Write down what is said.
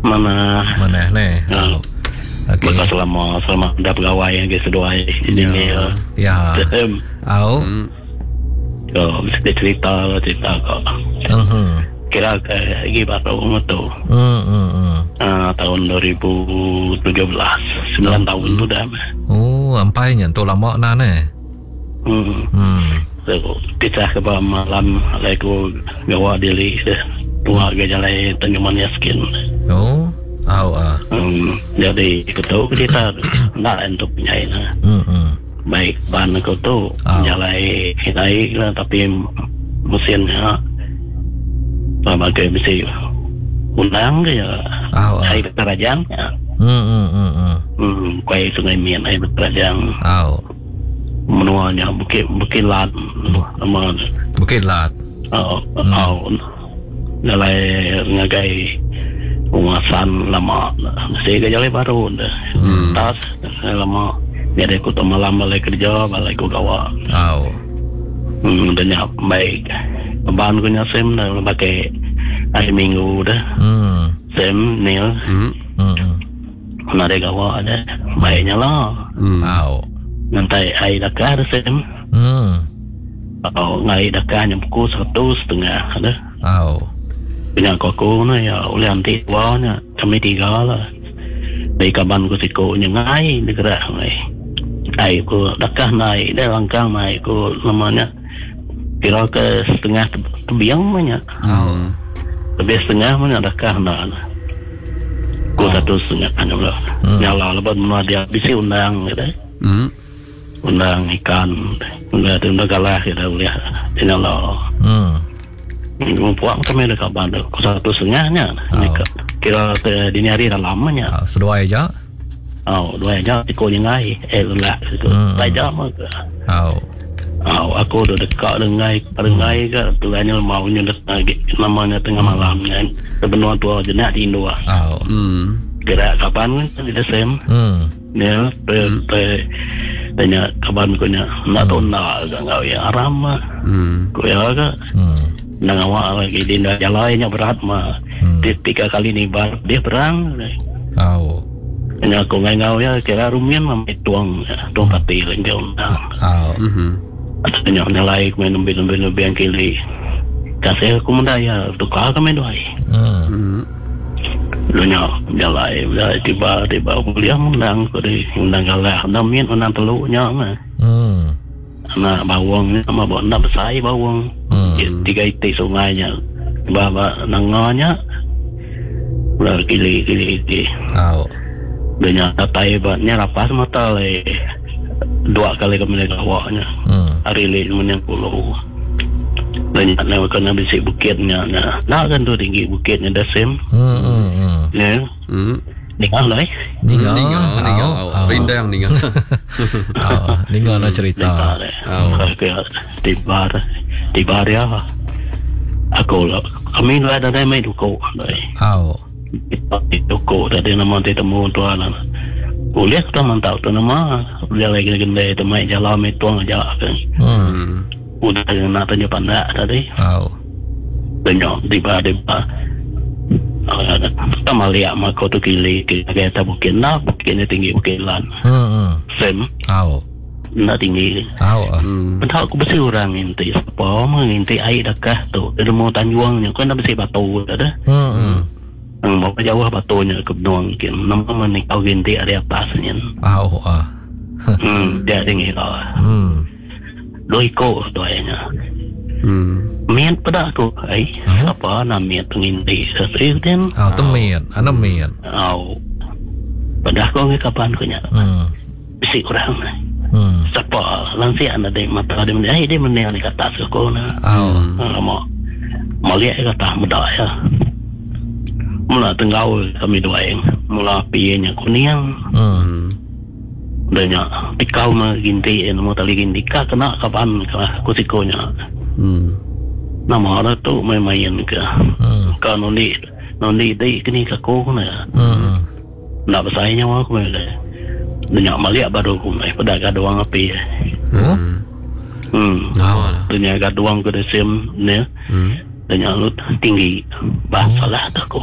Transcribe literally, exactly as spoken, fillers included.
Mana Manah neh. Hmm. Au. Okey. Baka selama selama dah pegawai yang ke seduai ini ya. Ya. Au. Hmm. So, mesti cerita lah cerita kok. Mhm. Kira ke lagi baru tu. Hmm hmm hmm. Uh, tahun dua ribu tujuh belas, sembilan tahun tu dah. Oh, ampai nya tu lama nah neh. Hmm. Hmm. So, pisah ke bawah malam lagi ku gawa diri deh. Tua ke jalan Tanjung Manis skin. Oh. Au ah. Hmm. Jadi ketu kita nak untuk nyai lah. Hmm hmm. Baik ban aku tu Ah. jalan naik lah tapi mesinnya pakai besi undang ke ya. Au ah. Air Kerajaan ya. Hmm hmm hmm hmm. Hmm, kuai Sungai Mian air Kerajaan. Au. Menuanya Bukit Bukit Lat. Nama Bukit Lat. Oh, oh. Jalan ngagai penguasaan lama. Mesti ke jalan baru dah. Hmm. Tas lama. Jadi aku tu malam balik kerja, balik aku gawa. Au. Hmm, dah nyap baik. Ban aku nya sem dah pakai hari Minggu dah. Hmm. Sem Neil Hmm. Hmm. hmm. nak ada gawa dah. Baiknya lah. Hmm. Au. Nanti air dakar sem. Hmm. Oh, ngai dakar nyam pukul satu setengah dah. Au. Punya aku aku ni ya oleh anti dua nya kami tiga lah. Dari kaban ku siku nya ngai dia gerak ngai. Ai ku dakah naik dia langkang naik ku namanya kira ke setengah te- tebiang banyak. Hmm. Lebih setengah mana dakah nak. Ku satu setengah nya pula. Hmm. Nyala lepas mana dia bisi undang gitu. Hmm. Undang ikan, undang tu undang galah kita boleh dia nyala. Hmm. Puak kami ada kabar tu. Ku satu setengahnya. Oh. Kira ke dini hari dah lamanya. Au, seduai aja. Oh, dua jam ikut yang ngai. Eh, lelak itu. Hmm. Dua jam ke. Au. Oh, aku dah dekat dengan ngai, ke. Tuanya maunya lagi namanya tengah malam kan. Sebenarnya tua je nak tidur. Au. Hmm. Kira kapan kan tidak sem. Hmm. Ya, pe pe tanya kapan ku nya. Nak tu nak ke ngau ya aram mah. Hmm. Ku ya ke. Hmm. Nang awak lagi dia dah jalannya berat mah. Hmm. Dia tiga kali ni bar dia perang. Au. Nya aku ngai ngau ya kira rumian mah tuang tuang pati lagi dia undang. Au. Hmm. Nya nilai ku main lebih lebih lebih yang kili. Kasih aku muda ya tukar kami dua. Hmm. Hmm. Lu nya jalai dah tiba tiba kuliah undang ku di undang galah undang min undang teluknya mah. Hmm. Anak bawang ni sama bawa nak besar bawang. Hmm. Tiga itik sungainya. Baba nanganya. Udah kili kili kili. Au. Dia nyata tai batnya rapas mata le. Dua kali kami le gawaknya. Hmm. Hari le menang pulau. Dia nyata kena bisik bukitnya. Nah, nak kan tu tinggi bukitnya dah sem. Hmm hmm hmm. Ya. Hmm. Dengar lah eh. Ninga. Ninga, ninga. Au. Au. Rindang ninga. Au. Ninga lah cerita. Dengar le. Au. Tiba tiba dia. Aku lah. Kami lah dah main duko. Au. Duko tadi nama dia temu tuan lah. Boleh kita mantap tu nama. Dia lagi gendai tu main jalan main tuang aja kan. Hmm. Hmm. Udah nak tanya pandak tadi. Au. Tanya tiba-tiba. Kita melihat maka tu kili kita kata bukit nak bukitnya tinggi bukit lan. Hmm hmm. Sem Au. nak tinggi. Au. ah. Hmm. Entah aku besi orang inti siapa menginti air dekah tu. Dia mau tanjuangnya kan dah besi batu dah dah. Hmm hmm. Hmm, berapa jauh batunya ke benua mungkin. Nama menikau ginti ada atasnya. Au ah. Hmm, dia tinggi lah. Hmm. Dua ikut tu ayahnya. Hmm. Miat pada aku, ai, Hmm? apa nak miat penginti sesuatu kan? Au tu miat, ana miat. Au. Pada aku ngi kapan ku nya. Hmm. Bisi orang. Hmm. Siapa langsir anda di mata dia meni, ai dia meni ni kata aku na. Au. Lama. Maliak kata muda ya. Mula tenggau kami dua yang mula pienya kuning. Hmm. Hmm. Dia nya tikau mah ginti nama tali ginti ka kena kapan ka kusikonya. Hmm. Nama ada tu main-main ke. Hmm. Ka nundi nundi di kini ka ko na. Hmm. Nak bersaing nyawa aku mai. Dia nya maliak baru aku mai pada gaduang api. Oh. Hmm. Hmm. Au lah. Dia nya gaduang ke desim ni. Hmm. Dia nya lut tinggi. Bah salah tu aku.